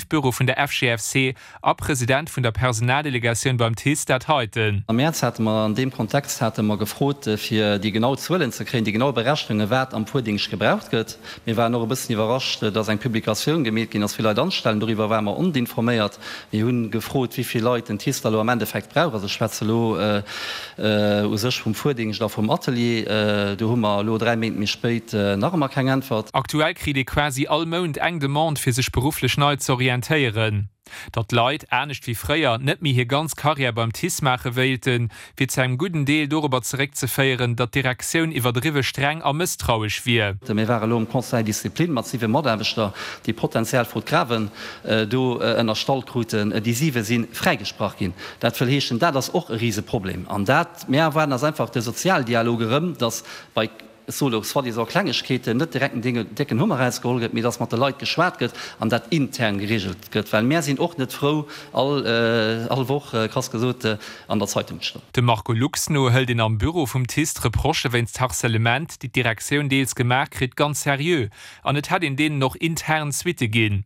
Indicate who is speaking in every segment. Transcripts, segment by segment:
Speaker 1: Büro vun der FGFC a President vun der Personaldelegatioun beim TICE dat heiten.
Speaker 2: Am Mäerz hate mer an deem Kontext hate mer gefrot, fir déi genau Zuelen ze kréien, déi genau Berechnungen, wat am Fuerdéngscht gebraucht gëtt. Mir waren och e bëssen iwwerrascht, dass eng Publikatioun gemeet ginn ass, wéi Leit anstellen. Doriwwer ware mer oninforméiert. Mir hu gefrot, wéi vill Leit den TICE da elo am Endeffekt brauch. Also ech schwätze elo u sech vum Fuerdéngscht a vum Atelier. Do hu mer elo 3 Méint méi spéit nach ëmmer keng Äntwert.
Speaker 1: Aktuell kritt ee quasi all Mount eng Demande, fir sech berufflech nei z'orientéieren. Datt d'Leit, anescht wéi fréier, net méi hir ganz Karriär beim TICE maache wéilten, wier zu engem gudden Deel dorobber zeréckzeféieren, datt d'Direktioun iwwerdriwwe streng a mësstrauesch wier.
Speaker 2: Mir ware elo am Conseil discipline mat 7 Mataarbechter, déi potenziell Faute grave do ënnerstallt kruten. Déi 7 si fräigesprach ginn. Dat wëll heeschen, dat ass och e Riseproblem. An dat, mir erwaarden eis einfach de Sozialdialog erëm, datt bei, ech soe lo soi-disant Klengegkeeten, net direkt en décken Hummer erausgeholl gëtt, mee datt mat de Leit geschwat gëtt an dat intern geregelt gëtt. Well mär sinn och net frou, all, all Woch, krass gesot, an der Zeitung ze stoen.
Speaker 1: Dem Marco Lux no hëlt een am Büro vum TICE d'Reprochë wéinst Harcèlement, déi d'Direktioun deels gemaach kritt, ganz seriö an et hätt een deenen och intern Suitte ginn.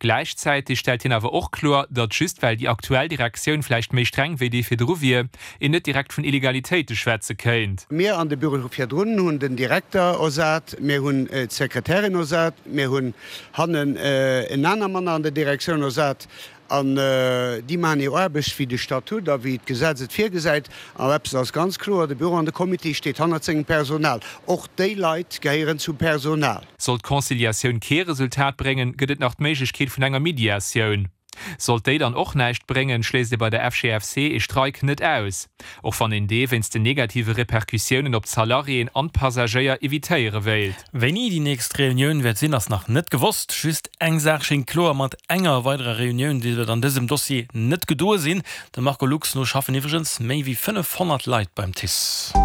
Speaker 1: Gläichzäiteg stellt hien awer och kloer, datt just well déi aktuell Direktioun vläicht méi streng wéi déi virdru wier, een net direkt vun Illegalitéite schwätze kéint.
Speaker 3: Mir an de Büro virdrun hunn den Direkter ersat, mir hunn d'Sekretärin ersat, mir hunn hannen en aner Mann an der Direktioun ersat. An déi maachen hir Aarbecht, wéi de Statut a wéi d'Gesetz et virgesäit. An eppes ass ganz kloer, De Büro an de Comité steet hannert sengem Personal. Och déi Leit gehéieren zum Personal.
Speaker 1: Sollt d'Conciliatioun kee Resultat bréngen, gëtt et nach d'Méiglechkeet vun enger Mediatioun. Sollt déi dann och näischt bréngen, schléisst ee bei der FGFC ee Streik net aus. Och wann een dee wéinst den negative Repercussiounen op d'Salariéen an d'Passagéier evitéiere wéilt.
Speaker 4: Wéini déi nächst Reunioun wäert sinn, ass nach net gewosst. Just eng Saach schéngt kloer, Mat enger weiderer Reunioun dierft et an dësem Dossier net gedoe sinn. Dem Marco Lux no schaffen iwwregens méi wéi 500 Leit beim TICE.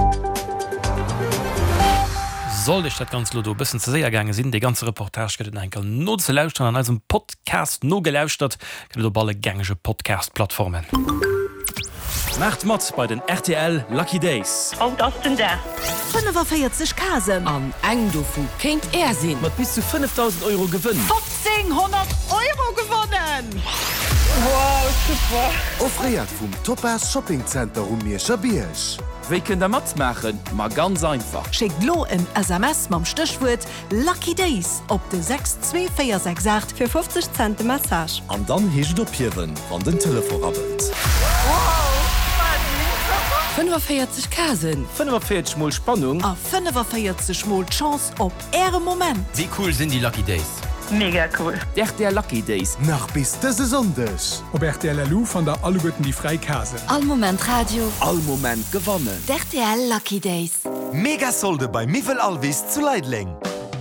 Speaker 4: Sollt Iech dat Ganzt elo do e bëssen ze séier gaange sinn, dee ganze Reportage gëtt et nach eng Kéier nozelauschteren an eisem Podcast. Nogelauschtert gëtt et op alle gängege Podcast-Plattformen.
Speaker 5: Maacht mat bei den rtl Lucky Days!
Speaker 6: Haut ass den Dag!
Speaker 7: 45 Casen.
Speaker 8: An eng dovu kéint Är sinn!
Speaker 5: Mat bis zu 5.000 Euro Gewënn!
Speaker 7: 1500 Euro gewonnen!
Speaker 6: Wow, super!
Speaker 9: Offréiert vum Topaz Shopping Center um Mierscher Bierg.
Speaker 5: Wéi kënnt der matmaachen? Ma ganz einfach!
Speaker 7: Schéckt lo en SMS mam Stéchwuert Lucky Days op de 62468
Speaker 10: fir 50 Cent de Message.
Speaker 9: An dann heescht et ophiewen, wann den Telefon rabbelt.
Speaker 8: 45 Casen.
Speaker 5: 45 mol Spannung.
Speaker 7: A 45 mol d'Chance op Äre Moment.
Speaker 5: Wéi cool sinn déi Lucky Days?
Speaker 6: Mega cool!
Speaker 5: D'RTL Lucky Days.
Speaker 9: Nach bis dëse Sonndeg!
Speaker 11: Op rtl.lu fannt der alleguerten déi fräi Casen.
Speaker 8: All Moment Radio.
Speaker 5: All Moment gewannen.
Speaker 8: D'RTL Lucky Days.
Speaker 9: Mega Solde bei Miwwel Alvis zu Leideleng!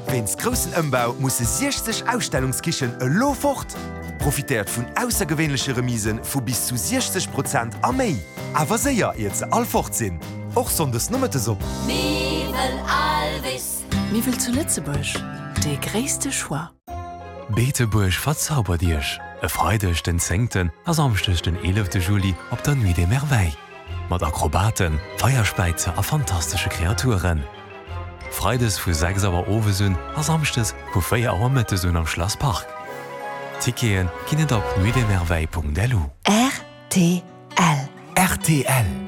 Speaker 9: Wéinst groussen Ëmbau musse 60 Ausstellungskichen elo fort! Profitéiert vun aussergewéinleche Remise vu bis zu 60 Prozent a méi! Awer séier, iert se all fort sinn! Och Sonndes Nomëttes op.
Speaker 8: Miwwel Alvis.
Speaker 7: Miwwel zu Lëtzebuerg, dee gréisste Choix.
Speaker 12: Beetebuerg verzaubert Iech e Freideg den zéngten a Samschdeg den eelefte Juli op der Nuit des Merveilles. Mat Akrobaten, Feierspäizer a fantastesche Kreaturen. Freides vu 6 Auer owes un a Samschdes vu 4 Auer mëttes un am Schlass Park. Tickete ginn et op nuitdesmerveilles.lu.
Speaker 7: Rtl.
Speaker 9: Rtl.